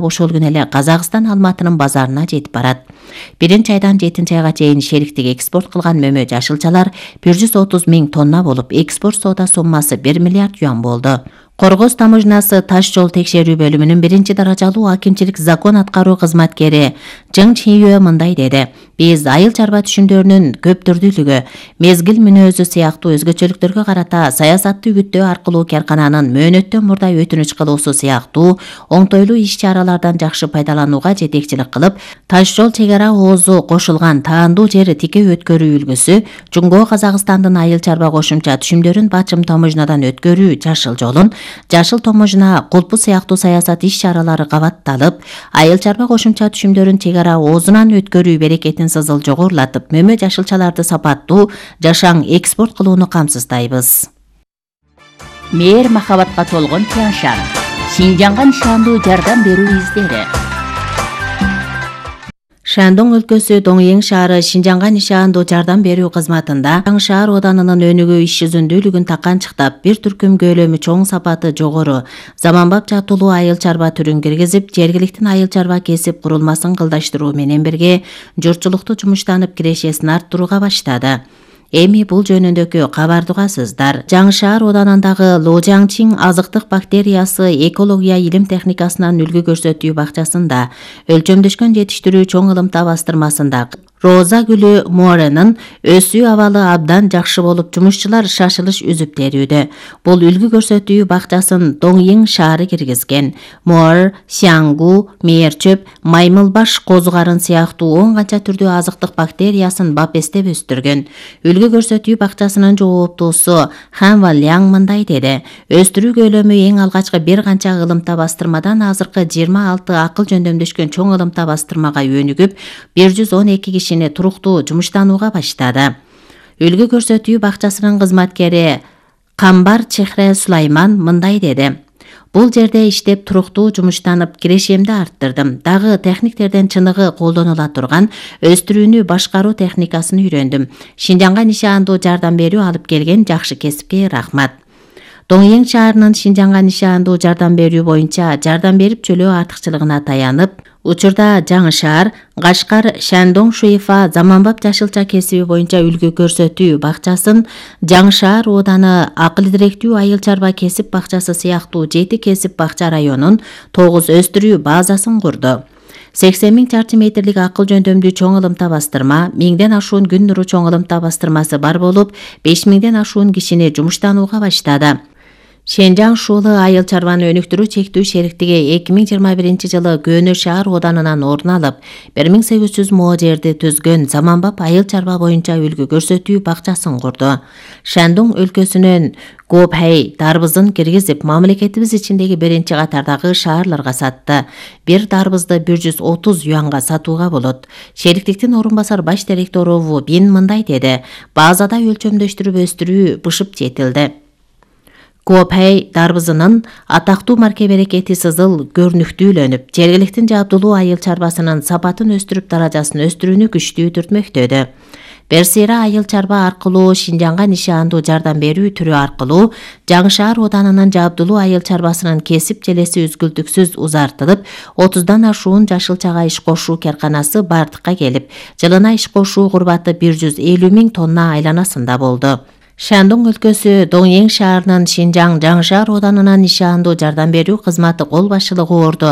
ошол күнү эле Казакстан Алматынын базарына жетип барат. 1-айдан 7-айга чейин шериктик экспорт кылган мөмө жашылчалар 130 000 тонна болуп, экспорт соода суммасы 1 миллиард юан болду. Коргоз таможнасы таш жол текшерүү бөлүмүнүн 1-даражалуу акимчилик закон аткаруу кызматкери Жың Чийөө мындай деди: "Биз айыл чарба түшүмдөрүнүн көптүрдүүлүгү, мезгил мүнөзү сыяктуу өзгөчөлүктөргө карата саясатты үгүттөө аркылуу каркананын мөөнөттөн мурда өтүнүч кылуусу сыяктуу оңтойлуу иш-чаралардан жакшы пайдаланууга жетекчилик кылып, таш жол чек ара оозу кошулган таандуу жер тике өткөрүү үлгүсү, Жумгоо Казакстандын айыл чарба кошумча түшүмдөрүн бачым таможнадан өткөрүү жашыл жолун, жашыл таможна кулпу сыяктуу саясат иш-чаралары кабатталып, айыл чарба кошумча түшүмдөрүн чек ара оозунан өткөрүү берекетин сызыл жогорулатып, мөмө жашылчаларды сапаттуу, жашаң экспорт кылууну камсыздайбыз. Мээр махабатка толгон Тяншан, Шинжанга нишандуу жардам берүү издери. Шандong өлкөсү Доңйең шаары Шинжанга нишандуу жардам берүү кызматында шаар оданынын өнүгүү иш жүзүндүүлүгүн таканчыктап, бир түркүм көлөмү чоң, сапаты жогору, заманбап жатуулуу айыл чарба түрүн киргизип, жергиликтин айыл чарба кесип курулмасын кылдаштыруу менен бирге журтчулукту жумуштанып кирешесин арттырууга баштады. Эми бул жөнүндөгү кабарды угасыздар. Жаңшаар оданындагы Ложаңчин азыктык бактериясы экология илим техникасынан үлгү көрсөтүү бакчасында, өлчөмдөшкөн жетиштирүү чоң ылымта бастырмасында Роза гүлү Моренин өсүү абалы абдан жакшы болуп, жумушчулар шашылыш үзүп терүүдө. Бул үлгү көрсөтүү бакчасын Доңйең шаары киргизген. Мор, сяңгу, мээрчөп, маймылбаш козугарын сыяктуу 10 канча түрдүү азыктык бактериясын бапестеп өстүргөн. Үлгү көрсөтүү бакчасынын жооптуусу Хан Валяң мындай деди: "Өстүрүү көлөмү эң алгачкы бир канча ылымта бастырмадан азыркы 26 акыл жөндөмдөшкөн чоң ылымта бастырмага өнүгүп, 112 кишини туруктуу жумуштанууга баштады." Үлгү көрсөтүү бакчасынын кызматкери Камбар Чехре Сулайман мындай деди: "Бул жерде иштеп туруктуу жумуштанып, кирешемди арттырдым. Дагы техниктерден чыныгы колдонула турган өстүрүүнү башкаруу техникасын үйрөндүм. Шинжанга нишандуу жардам берүү алып келген жакшы кесипке рахмат." Доңйең шаарынын Шинжанга нишандуу жардам берүү боюнча жардам берип чөлөө артыкчылыгына таянып, учурда жаңы шаар, Кашкар, Шандong Шуефа заманбап жашылча кесиби боюнча үлгү көрсөтүү бакчасын, жаңы шаар ооданы акыл директүү айыл чарба кесип бакчасы сыяктуу 7 кесип бакча районун 9 өстүрүү базасын курду. 80 000 чарчы метрлик акыл жөндөмдүү чоң ылымта бастырма, 1000ден ашуун күн нуру чоң ылымта бастырмасы бар болуп, 5000ден ашуун кишини жумуштанууга баштады. Шенжаң шуулы айыл чарбаны өнүктүрүү чектүү шериктиги 2021 жылы Көнө шаар оданынан орун алып, 1800 мо жерди түзгөн заманбап айыл чарба боюнча үлгү көрсөтүү бакчасын курду. Шандong өлкөсүнөн Гопхэй дарбызын киргизип, мамлекетибиз ичиндеги биринчи катардагы шаарларга сатты. Бир дарбызды 130 юанга сатууга болот. Шериктиктин орун басар баш директору Ву Бин мындай деди: "Базада өлчөмдөштүрүп өстүрүү бышып жетилди. Гопхэй дарбызынын атактуу марке берекети сызыл көрүнүктүүлөнүп, жергиликтин жабдулуу айыл чарбасынын сапатын өстүрүп, даражасын өстүрүүнү күчтүү түртмөктөдү." Берсира айыл чарба аркылуу Шинжанга нишандуу жардам берүү түрү аркылуу жаңы шаар оданынын жабдулуу айыл чарбасынын кесип желеси үзгүлтүксүз узартылып, 30дан ашуун жашылчага иш кошуу карканасы бардыкка келип, жылына иш кошуу курбаты 150 000 тонна айланасында болду. Шандong өлкөсү Доңйең шаарынын Шинжаң жаңы шаар оданынан нишандуу жардам берүү кызматы кол башчылыгы орду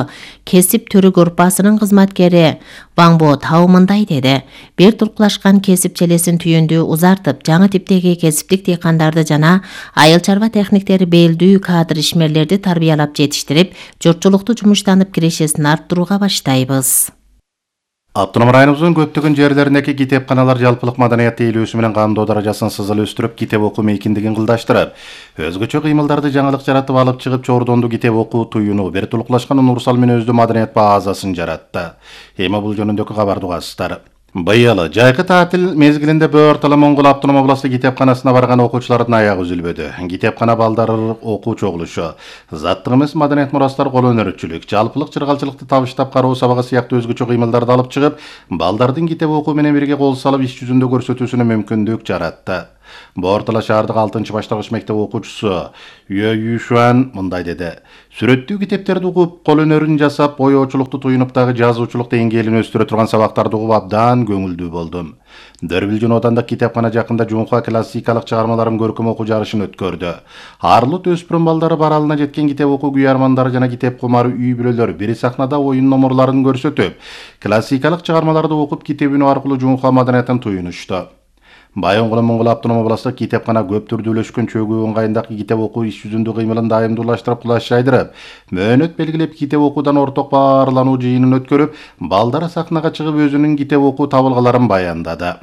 кесип түрү группасынын кызматкери Ваңбо Тау мындай деди: "Бир туркулашкан кесип желесин түйүндү узартып, жаңы типтеги кесиптик дыйкандарды жана айыл чарба техниктери белдүү кадр ишмерлерди тарбиялап жетиштирип, журтчулукту жумуштанып кирешесин арттырууга баштайбыз." Автоном районубуздун көптөгөн жерлериндеги китепканалар жалпылык маданият тейлөөсү менен кандоо даражасын сызыл өстүрүп, китеп окуу мейкиндигин кылдаштырып, өзгөчө кыймылдарды жаңылык жаратып алып чыгып, чордонду китеп окуу туюну, бир тулкулашкан универсал мүнөздүү маданият базасын жаратты. Эми бул жөнүндөгү кабарды угасыздар. Быйыл жайкы таатил мезгилинде Бөөр Моңгол автоном областы китепканасына барган окуучулардын аягы үзүлбөдү. Китепкана балдары окуу чогулушу, заттык эмес маданият мурастар, кол өнөрчүлүк, жалпылык чыргалчылыкты табыштап кароо сабагы сыяктуу өзгөчө кыймылдарды алып чыгып, балдардын китеп окуу менен бирге кол салып иш жүзүндө көрсөтүүсүнө мүмкүндүк жаратты. Боор шаардык 6-баштагыч мектеп окуучусу Юэ Юшуан мындай деди. Сүрөттүү китептерди угуп, кол өнөрүн жасап, боёочулукту туюнуп дагы жазуучулук деңгээлин өстүрө турган сабактарды угуп абдан көңүлдүү болдум. Дөрбилжин Одандык китепкана жакында Жунха классикалык чыгармаларын көркөм окуу жарышын өткөрдү. Арлыт өспүрүм балдары баралына жеткен китеп окуу күйөрмандары жана китеп кумары үй бүлөлөр бир сахнада оюн номурларын көрсөтүп, классикалык чыгармаларды окуп китеп үнү аркылуу Жунха маданиятын туюнушту. Байонгул Моңгол автономия областык китепкана көп түрдүүлөшкөн чөгүү ыңгайындагы китеп окуу иш жүзүндө кыймылын дайымдуулаштырып, кулаш жайдырып, мөөнөт белгилеп китеп окуудан орток баарлануу жыйынын өткөрүп, балдар сахнага чыгып өзүнүн китеп окуу табылгаларын баяндады.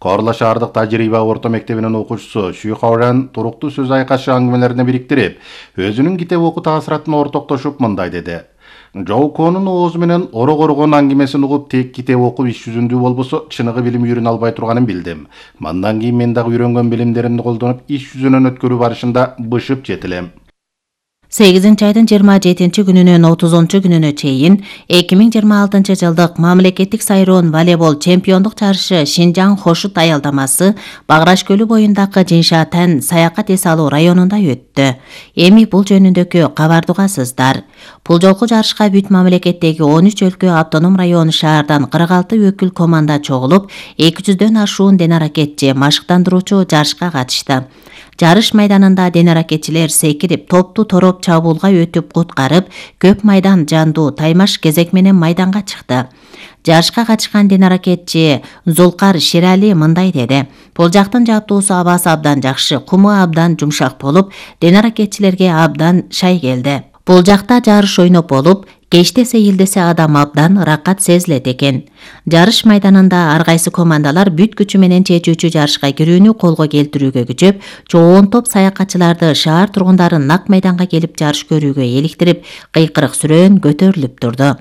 Корла шаардык тажрыйба орто мектебинин окуучусу Шүй Хауран туруктуу сөз айкашы аңгемелерине бириктирип, өзүнүн китеп окуу таасиратын ортоктошуп мындай деди. Жоуконун оозу менен орогоргон аңгемесин угуп, тек китеп окуп иш жүзүндүү болбосо чыныгы билим үйрөнө албай турганын билдим. Мандан кийин мен дагы үйрөнгөн билимдеримди колдонуп, иш жүзүнөн өткөрүү барышында бышып жетилем. 8-айдын 27-күнүнөн 30-күнүнө чейин 2026 жылдык мамлекеттик сайроон волейбол чемпиондук жарышы Шинжаң Хошут аялдамасы Баграш көлү боюндагы Жиншатан саякат эс алуу районунда өттү. Эми бул жөнүндөгү кабарды угасыздар. Бул жолку жарышка бүт мамлекеттеги 13 өлкө автоном район шаардан 46 өкүл команда чогулуп, 200дөн ашуун денаракетчи машыктандыруучу жарышка катышты. Жарыш майданында денаракетчилер секирип, топту тороп чабуулга өтүп куткарып, көп майдан жандуу таймаш кезек менен майданга чыкты. Жарышка катышкан денаракетчи Зулкар Ширали мындай деди. Бул жактын жабдуусу абасы абдан жакшы, куму абдан жумшак болуп, денаракетчилерге абдан шай келди. Бул жакта жарыш ойноп болуп, кечте сейилдесе адам абдан ыракат сезилет экен. Жарыш майданында ар кайсы командалар бүт күчү менен чечүүчү жарышка кирүүнү колго келтирүүгө күчөп, чоң топ саякатчыларды шаар тургундарын нак майданга келип жарыш көрүүгө эликтирип, кыйкырык сүрөөн көтөрүлүп турду.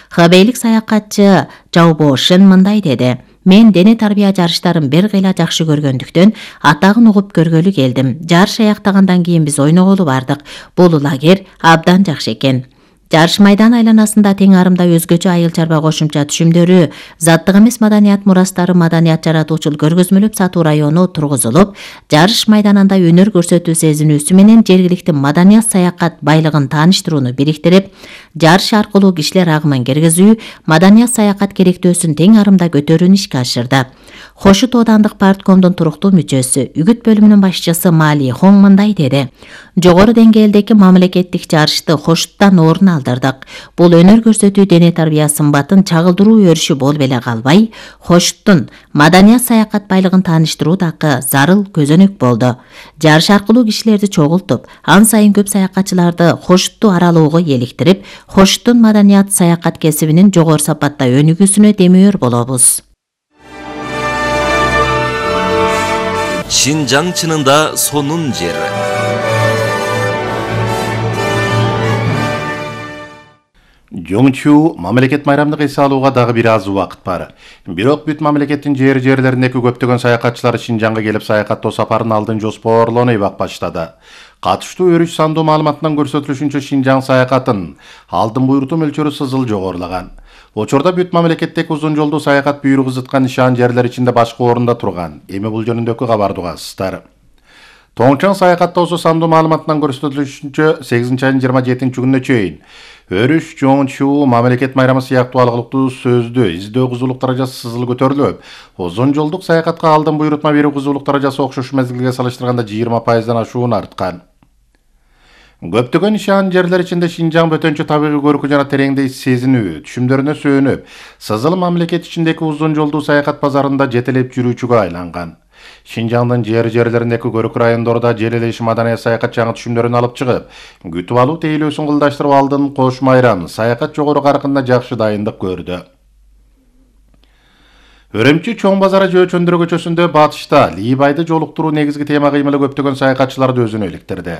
Хабейлик саякатчы Жаубошин мындай деди. Мен дене тарбия жарыштарын бир кыйла жакшы көргөндүктөн атагын угуп көргөлү келдим. Жарыш аяктагандан кийин биз ойноголу бардык. Бул лагерь абдан жакшы экен. Жарыш майдан айланасында тең арымда өзгөчө айыл чарба кошумча түшүмдөрү, заттык эмес маданият мурастары маданият жаратуучул көргөзмөлөп сатуу району тургузулуп, жарыш майданында өнөр көрсөтүү сезинүүсү менен жергиликтүү маданият саякат байлыгын тааныштырууну бириктирип, жарыш аркылуу кишилер агымын киргизүү, маданият саякат керектөөсүн тең арымда көтөрүүнү ишке ашырды. Хошут Оодандык парткомдун туруктуу мүчөсү, үгүт бөлүмүнүн башчысы Мали Хон мындай деди. Жогору деңгээлдеги мамлекеттик жарышты Хошуттан орун алдырдык. Бул өнөр көрсөтүү дене тарбия сымбатын чагылдыруу өрүшү болуп эле калбай, Хошуттун маданият саякат байлыгын тааныштыруу дагы зарыл көзөнөк болду. Жарыш аркылуу кишилерди чогултуп, ан сайын көп саякатчыларды Хошутту аралоого эликтирип, Хошуттун маданият саякат кесибинин жогору сапатта өнүгүүсүнө демөөр болобуз. Шинжаң чынында сонун жер. Жоңчу мамлекет майрамдык эс алууга дагы бир аз убакыт бар. Бирок бүт мамлекеттин жерлериндеги көптөгөн саякатчылар Шинжаңга келип саякаттоо сапарын алдын жоспарлоной баштады. Катыштуу өрүш сандуу маалыматынан көрсөтүлүшүнчө Шинжаң саякатын алдын буйрутуу мөлчөрү сызыл жогорулаган. Учурда бүт мамлекеттеги узун жолдуу саякат буйругу зыткан нишан жерлер ичинде башкы орунда турган. Эми бул жөнүндөгү кабарды угасыздар. Тоңчан саякаттоосу сандуу маалыматынан көрсөтүлүшүнчө 8-айдын 27-күнүнө чейин өрүш жоңчу мамлекет майрамы сыяктуу алгылыктуу сөздү издөө кызуулук даражасы сызыл көтөрүлүп, узун жолдук саякатка алдын буйрутма берүү кызуулук даражасы окшош мезгилге салыштырганда 20%-дан ашуун арткан. Көптөгөн нишан жерлер ичинде Шинжаң бөтөнчө табигый көркү жана тереңдей сезинүү түшүмдөрүнө сүйөнүп, сызыл мамлекет ичиндеги узун жолдуу саякат базарында жетелеп жүрүүчүгө айланган. Шинжаңдын жерлериндеги көркү райондордо желелеши маданият саякат жаңы түшүмдөрүн алып чыгып, күтүп алуу тейлөөсүн кылдаштырып алдын кош майрам саякат жогору каркында жакшы дайындык көрдү. Өрөмчү чоң базары Жөөчөндүрө көчөсүндө батышта Лийбайды жолуктуруу негизги тема кыймылы көптөгөн саякатчыларды өзүнө иликтирди.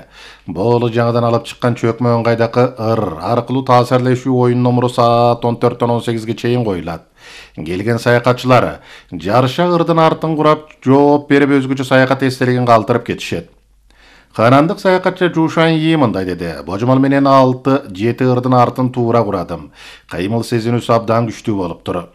Бул жаңыдан алып чыккан чөкмө ыңгайдагы ыр аркылуу таасирлешүү оюн номуру саат 14-тон 18-ге чейин коюлат. Келген саякатчылар жарыша ырдын артын курап жооп берип өзгөчө саякат эстелигин калтырып кетишет. Канандык саякатчы Жушан Yi мындай деди. Божомол менен 6-7 ырдын артын туура курадым. Кыймыл сезинүүсү абдан күчтүү болуптур.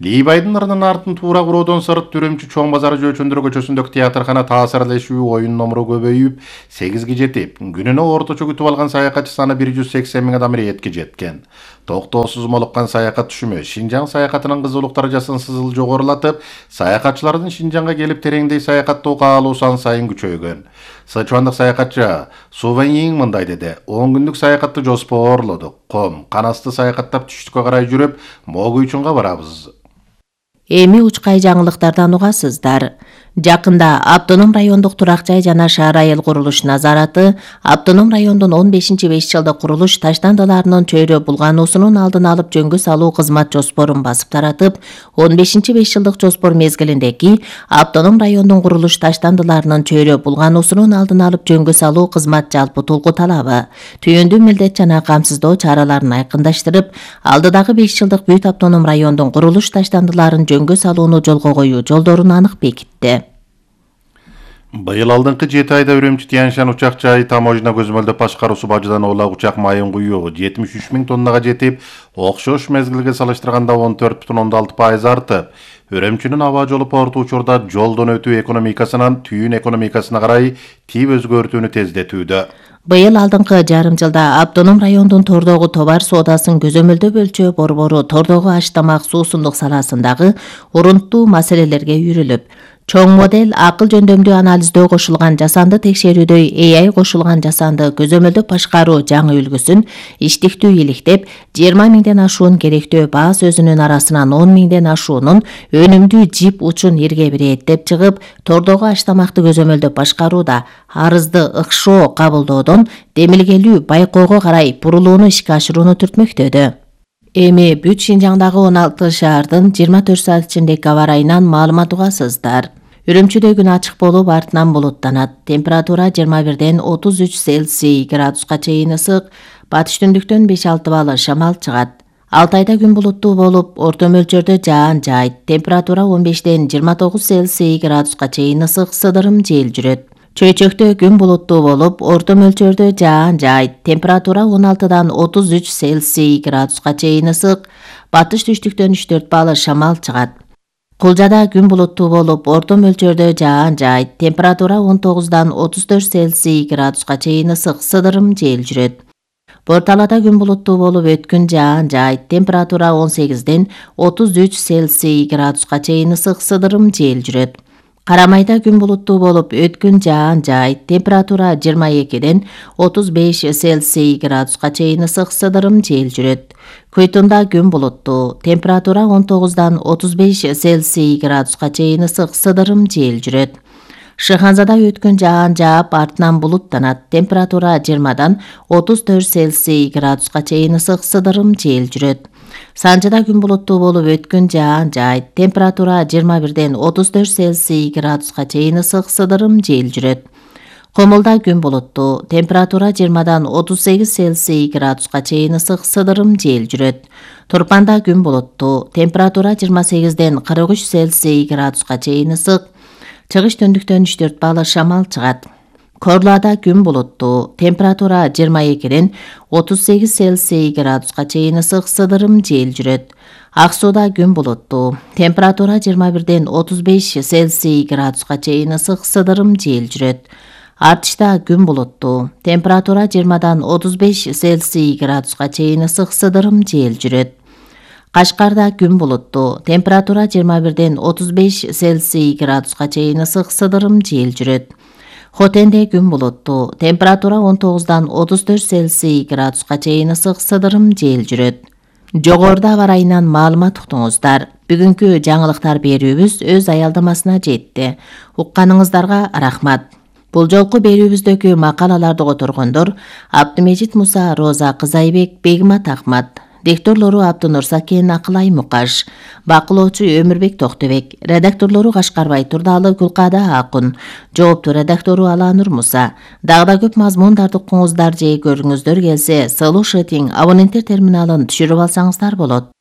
Лийбайдын ырынын артын туура куроодон сырт Үрүмчү Чоң базары Жөөчөндөр көчөсүндөгү театркана таасирлешүү оюн номуру көбөйүп 8ге жетип, күнүнө орточо күтүп алган саякатчы саны 180 миң адам иретке жеткен. Токтоосуз молуккан саякат түшүмү Шинжаң саякатынын кызуулук даражасын сызыл жогорулатып, саякатчылардын Шинжаңга келип тереңдей саякаттоо каалуу сан сайын күчөйгөн. Сычуандык саякатчы Сувеньин мындай деди: 10 күндүк саякатты жоспоорлодук. Ком, канасты саякаттап түштүккө карай жүрүп, Могуйчунга барабыз. Эми учкай жаңылыктардан угасыздар. Жакында Автоном райондук турак жай жана шаар айыл курулуш назараты Автоном райондун 15-5 жылдык курулуш таштандыларынын чөйрө булгануусунун алдын алып жөнгө салуу кызмат жоспорун басып таратып, 15-5 жылдык жоспор мезгилиндеги Автоном райондун курулуш таштандыларынын чөйрө булгануусунун алдын алып жөнгө салуу кызмат жалпы толку талабы, түйүндүү милдет жана камсыздоо чараларын айкындаштырып, алдыдагы 5 жылдык Бүт Автоном райондун курулуш таштандыларын жөнгө салууну жолго коюу жолдорун анык бекитти. Быйыл алдыңкы 7 айда Үрүмчү Тянь-Шань учак жайы таможня көзөмөлдөп башкаруусу бажыдан оолак учак майын куюу 73 миң тоннага жетип, окшош мезгилге салыштырганда 14,6% артып, Үрүмчүнүн аба жолу порту учурда жолдон өтүү экономикасынан түйүн экономикасына карай тийип өзгөртүүнү тездетүүдө. Быйыл алдыңкы жарым жылда Автоном райондун тордогу товар соодасын көзөмөлдөө өлчөө борбору тордогу аш-тамак суусундук саласындагы урунттуу маселелерге үйрүлүп, чоң модель акыл жөндөмдүү анализдөө кошулган жасанды текшерүүдөй AI кошулган жасанды көзөмөлдөө башкаруу жаңы үлгүсүн иштиктүү иликтеп, 20 миңден ашуун керектөө баа сөзүнүн арасынан 10 миңден ашуунун өнүмдүү жип учун ирге бирэттеп чыгып, тордогу аш-тамакты көзөмөлдөп башкарууда арызды ыкшоо кабылдоодон демилгелүү байкоого карай бурулууну ишке ашырууну түртмөктөдү. Эми бүт Шинжаңдагы 16 шаардын 24 саат ичиндеги аба ырайынан маалымат угасыздар. Үрүмчүдө күн ачык болуп, артынан булуттанат. Температура 21ден 33 Цельсий градуска чейин ысык, батыш түндүктөн 5-6 балл шамал чыгат. Алтайда күн булуттуу болуп, орто мөлчөрдө жаан жаайт. Температура 15ден 29 Цельсий градуска чейин ысык, сыдырым жел жүрөт. Чөйчөктө күн булуттуу болуп, орто мөлчөрдө жаан жаайт. Температура 16дан 33 Цельсий градуска чейин ысык, батыш түштүктөн 3-4 балл шамал чыгат. Кулжада күн булуттуу болуп, орто мөлчөрдө жаан жаайт. Температура 19дан 34 Цельсий градуска чейин ысык, сыдырым жел жүрөт. Борталада күн булуттуу болуп, өткүн жаан жаайт. Температура 18ден 33 Цельсий градуска чейин ысык, сыдырым жел жүрөт. Карамайда күн булуттуу болуп, өткүн жаан жаайт. Температура 22ден 35 Цельсий градуска чейин ысык, сыдырым жел жүрөт. Куйтунда күн булуттуу. Температура 19дан 35 Цельсий градуска чейин ысык, сыдырым жел жүрөт. Шыханзада өткүн жаан жаап, артынан булуттанат. Температура 20дан 34 Цельсий градуска чейин ысык, сыдырым жел жүрөт. Санжыда күн булуттуу болуп, өткүн жаан жаайт. Температура 21ден 34 Цельсий градуска чейин ысык, сыдырым жел жүрөт. Комулда күн булуттуу. Температура 20дан 38 Цельсий градуска чейин ысык, сыдырым жел жүрөт. Турпанда күн булуттуу. Температура 28ден 43 Цельсий градуска чейин ысык, чыгыш түндүктөн 3-4 балл шамал чыгат. Корлада күн булуттуу. Температура 22ден 38 Цельсий градуска чейин ысык, сыдырым жел жүрөт. Ак сууда күн булуттуу. Температура 21ден 35 Цельсий градуска чейин ысык, сыдырым жел жүрөт. Артышта күн булуттуу. Температура 20дан 35 Цельсий градуска чейин ысык, сыдырым жел жүрөт. Кашкарда күн булуттуу. Температура 21ден 35 Цельсий градуска чейин ысык, сыдырым жел жүрөт. Хотенде күн булуттуу. Температура 19дан 34 Цельсий градуска чейин ысык, сыдырым жел жүрөт. Жогоруда аба ырайынан маалымат уктуңуздар. Бүгүнкү жаңылыктар берүүбүз өз аялдамасына жетти. Укканыңыздарга рахмат. Бул жолку берүүбүздөгү макалаларды которгондор Абдымежит Муса, Роза Кызайбек, Бегмат Ахмат. Дикторлору Абдынур Сакен, Акылай Мукаш. Бакылоочу Өмүрбек Токтубек. Редакторлору Кашкарбай Турдалы, Гүлкада Акун. Жооптуу редактору Аланур Муса. Дагы да көп мазмундарды укуңуздар же көрүңүздөр келсе, Слушатиң абоненттер терминалын түшүрүп алсаңыздар болот.